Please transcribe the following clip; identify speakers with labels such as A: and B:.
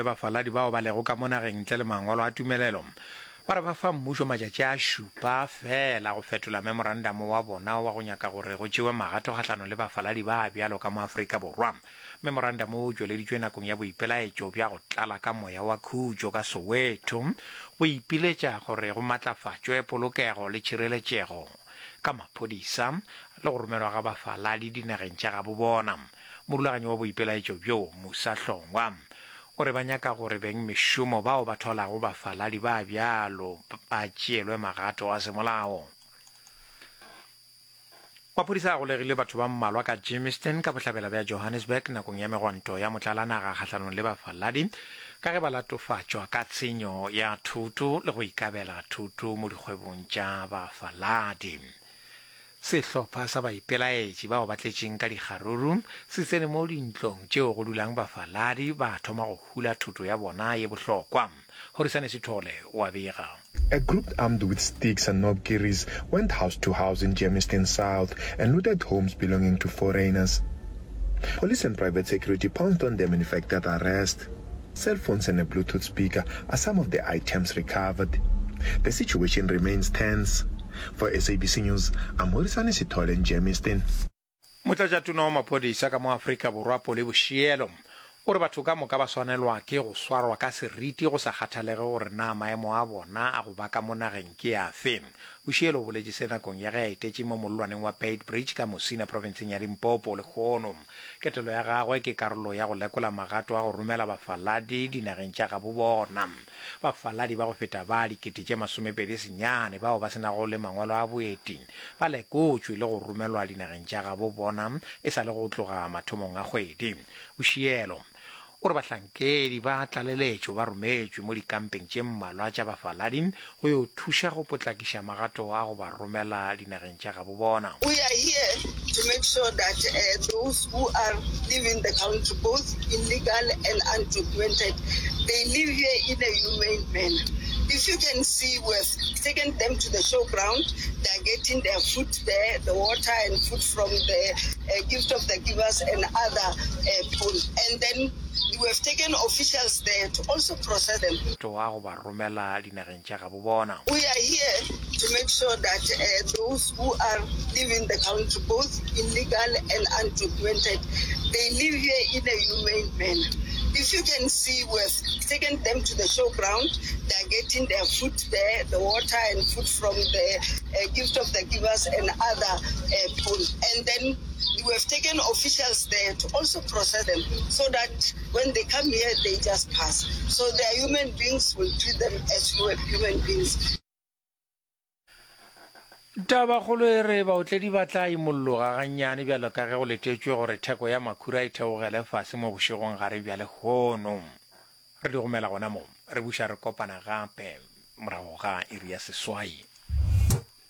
A: Bafaladi bao ba lego ka mo nageng ntle le mangwalo a tumelelo ba re ba fa mmušo matšatši a šupa feela go fetola memorandamo wa bona wa go nyaka gore go tšewe magato kgahlanong le bafaladi ba bjalo ka mo Afrika Borwa. Memorandamo wo o tšweleditšwe nakong ya boipelaetšo bja go tlala ka moya wa khutšo ka Soweto go ipiletša gore go matlafatšwe polokego le tšhireletšego ka maphodisa le go romelwa ga bafaladi dinageng tša gabo bona. Morulaganyi wa boipelaetšo bjo, Musa Hlongwa, o re ba nyaka gore bengmešomo bao ba thwalago bafaladi ba bjalo ba tšeelwe magato a semolao. Maphodisa a golegile batho ba mmalwa ka Germiston ka bohlabela bja Johannesburg nakong ya megwanto ya motlalanaga kgahlanong le bafaladi ka ge ba latofatšwa ka tshenyo ya thoto le go ikabela thoto mo dikgwebong tša bafaladi. Sehlopha sa baipelaetši bao ba tletšeng ka dikgaruru se tsene mo dintlong tšeo go dulang bafaladi ba thoma go hula thoto ya bona ye bohlokwa. Horisane Sithole o a bega.
B: A group armed with sticks and knobkerries went house to house in Germiston South and looted homes belonging to foreigners. Police and private security pounced on them and effected arrest. Cell phones and a Bluetooth speaker are some of the items recovered. The situation remains tense. For SABC News, I'm Horisane Sithole in Germiston.
A: Motlatšatona wa maphodisa ka mo Afrika Borwa Polly Boshielo o re batho ka moka ba swanelwa ke go swarwa ka seriti go sa kgathalege gore na maemo a bona a go ba ka mo nageng ke afe. Boshielo o boletše se nakong ya ge a etetše mo mollwaneng wa Beitbridge ka Musina profenseng ya Limpopo lehono. Ketelo ya gagwe ke karolo ya go lekola magato a go romela bafaladi dinageng tša gabo bona. Bafaladi ba go feta ba 29,000 bao ba se nago le mangwalo a boeti ba lekotšwe le go romelwa dinageng tša gabo bona e sa le go tloga mathomong a kgwedi. Boshielo o re bahlankedi ba tlaleletšo ba rometšwe mo dikampeng tše mmalwa tša bafaladi go yo thuša go potlakiša magato a go ba romela dinageng tša gabo bona.
C: We are here to make sure that those who are leaving the country, both illegal and undocumented, they leave here in a humane manner. If you can see, we have taken them to the showground, they are getting their food there, the water and food from the Gift of the Givers and other people. And then we have taken officials there to also process them.
A: Toa go ba romela dinageng tša gabo bona.
C: We are here to make sure that those who are leaving the country, both illegal and undocumented, they leave here in a humane manner. If you can see, we have taken them to the showground, they are getting their food there, the water and food from the Gift of the Givers and other people. And then we have taken officials there to also process them so that when they come here, they just pass. So they are human beings, we'll treat them as human beings.
A: Tabakgolo e re baotledi ba tla imolloga gannyane bjalo ka ge go letetšwe gore theko ya makhura e theogele fase mo bošegong gare bja lehono. Re di gomela gona mo, re buša re kopana gape morago ga iri ya seswai.